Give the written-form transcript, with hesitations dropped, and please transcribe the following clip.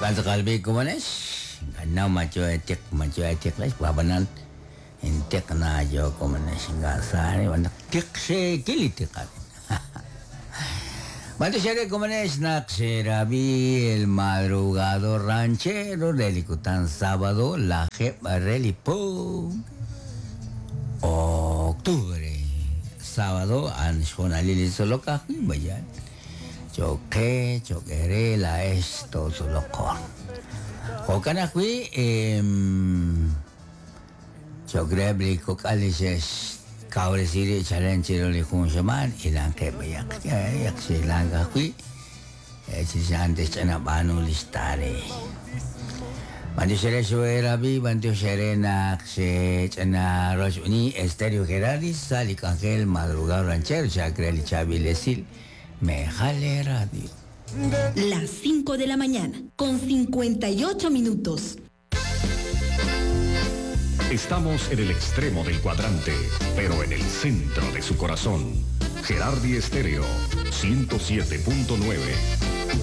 Jo'kan tz'aqal b'i' komonex, ink'a' ma yo eetiq ma yo eetiqlex, ab'anan intiq na yo komonex, ink'a' sa naq tiq xeekil li tiq arin. B'antiox eere komonex naq xerab'i El Madrugador Ranchero re li kutan sábado lajeeb' re li po octubre. Sábado a'an xhoonalil li tzolok ajwi' bayan. Cho'q qe, cho'q eere laa'ex tootzoloq. Jo'kan ajwi' cho'q reheb' li kok'al li xe'xkawresi rib' chalen chiru li jun xamaan hilanqeb' b'ayaq yaq xhilank ajwi' chirix a'an te'xch'ana b'aanu li xtare. B'antiox eere xoerab'i, b'antiox eere naq xech'ana rochb'eni Estéreo Gerardi sa' li k'anjel Madrugado Ranchero chak re li chaab'il esil Mejal Radio. Las 5 de la mañana, con 58 minutos. Estamos en el extremo del cuadrante, pero en el centro de su corazón. Gerardi Estéreo, 107.9.